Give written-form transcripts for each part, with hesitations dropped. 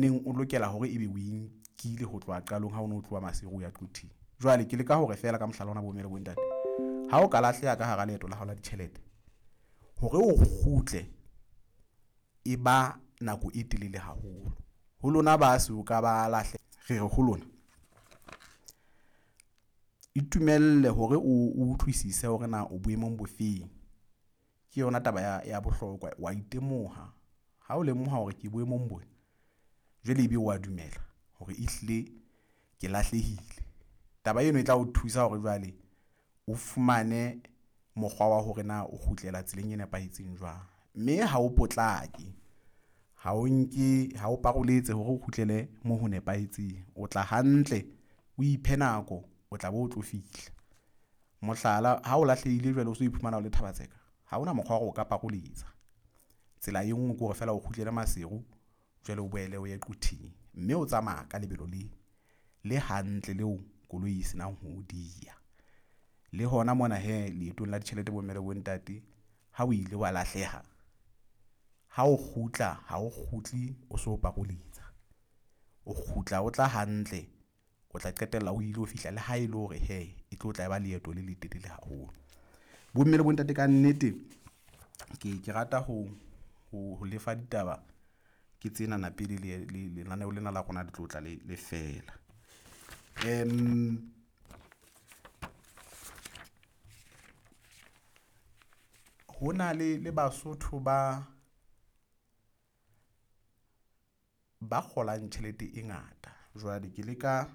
neng o lokela hore ebe o e nkile ho tloha qalong ha o ne o tloha Maseru o ya Quthing. Jwale ke leka hore feela ka mohlala ona bomme le bontate, ha o ka lahleha ka hara leeto la hao la ditjhelete, hore o kgutle e ba nako e telele haholo. Ho lona ba so ka ba re re ho lona, itumelle hore o utlwisise hore na o boemong bo feng. Ke yona taba ya bohlokwa, wa itemoha. Ha o lemoha hore ke boemong bona, jwale ebe wa dumela hore ehlile ke lahlehile. Taba eno e tla o thusa hore jwale o fumane mokgwa wa hore na o kgutlela tseleng e nepahetseng jwang. Mme ha o potlake, ha o nke, ha o paroletse hore o kgutlele moo ho nepahetseng. O tla hantle, o iphe nako, o tla be o tlo fihla. Mohlala, ha o lahlehile jwale o so iphumana o le Thaba-Tseka, ha hona mokgwa wa hore o ka paroletsa. Tsela e nngwe ke hore feela o kgutlele Maseru, jwale o boele o ye Quthing. Mme o tsamaya ka lebelo le hantle leo koloi e senang ho diya. Le hona mona hee leetong la ditjhelete bomme le bontate, ha o ile wa lahleha, ha o kgutla ha o kgutle o so paroletsa. O kgutla o tla hantle, o tla qetella o ile ho fihla le ha e le hore hee e tlo tla e ba leeto le letelele haholo. Bomme le bontate, ka nnete ke rata ho lefa ditaba ke tsena pele lenaneo lena la rona le tlo tla le fela. Ho na le Basotho ba kgolang tjhelete e ngata. Jwale ke leka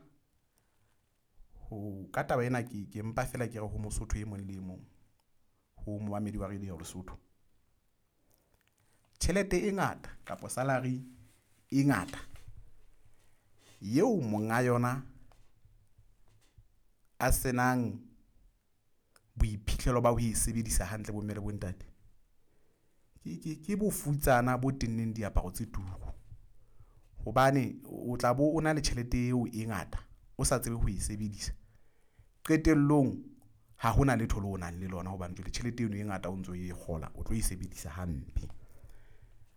ho, ka taba ena ke mpa feela ke re ho Mosotho e mong le e mong, ho momamedi wa Radio Lesotho. Tjhelete e ngata kapa salary e ngata eo monga yona a senang boiphihlelo ba ho e sebedisa hantle bomme le bontate, ke bofutsana bo tenneng diaparo tse turu. Hobane o tla bo o na le tjhelete eo e ngata, o sa tsebe ho e sebedisa. Qetellong ha hona letho leo o nang le lona hobane jwale tjhelete eno e ngata o ntso e kgola, o tlo e sebedisa hampe.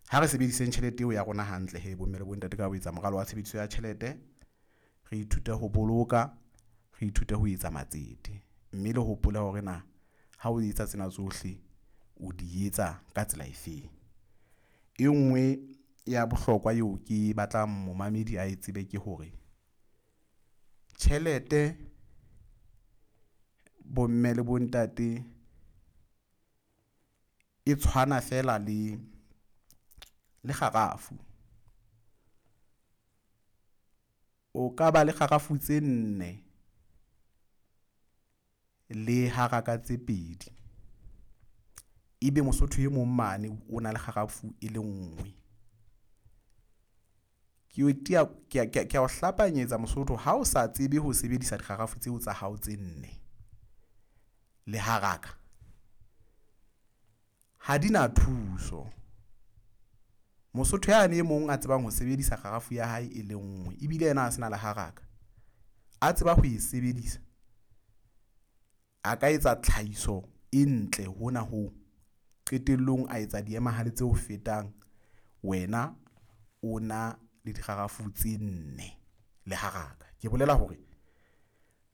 Ha re sebediseng tjhelete eo ya rona hantle he bomme le bontate ka ho etsa moralo wa tshebediso ya tjhelete, re ithute ho boloka, re ithute ho etsa matsete. Mme le hopole hore na ha o etsa tsena tsohle o di etsa ka tsela efeng. E nngwe ya bohlokwa eo ke batlang momamedi a e tsebe ke hore tjhelete bomme le bontate e tshwana feela le kgarafu. O ka ba le kgarafu tse 4 le haraka tse 2, ebe Mosotho e mong mane o na le kgarafu e le nngwe. Ke a o hlapanyetsa Mosotho, ha o sa tsebe ho sebedisa dikgarafu tseo tsa hao tse 4 le haraka, ha di na thuso. Mosotho yane e mong a tsebang ho sebedisa kgarafu ya hae e le nngwe, ebile yena a sena le haraka, a tseba ho e sebedisa, a ka etsa tlhahiso e ntle hona ho qetellong a etsa diemahale tse ho fetang wena o na le dikgarafu tse 4 le haraka. Ke bolela hore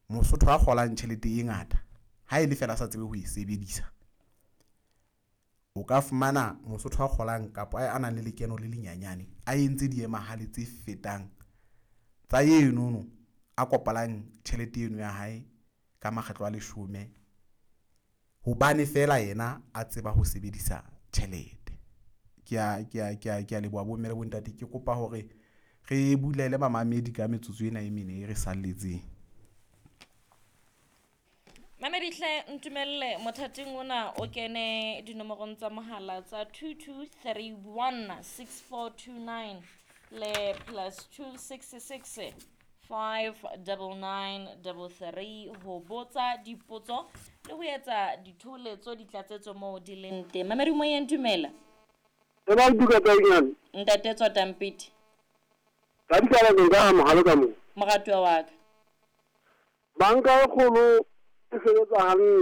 Mosotho a kgolang tjhelete e ngata, ha e le feela a sa tsebe ho e sebedisa, o ka fumana Mosotho a kgolang kapa a nang le lekeno le lenyanyane a entse diemahale tse fetang tsa enono a kopalang tjhelete eno ya hae ka makgetlo a 10, hobane feela yena a tseba ho sebedisa tjhelete. Ke a leboha bomme le bontate. Ke kopa hore re bulele bamamedi ka metsotso ena e mene e re salletseng. Mamedi hle ntumelle mothating ona o kene dinomorong tsa mohala tsa 2231 6429 le +266 599 33 ho botsa dipotso le ho etsa ditholetso ditlatsetso moo di leng teng. Mamedi moyeng dumela. E ba duka tsa eng? Ntate Tswatampiti. Ka ditaba tsa ka mohalo ka mo. Moratuwa wa ka. Banka e kgolo e sebetsa hantle.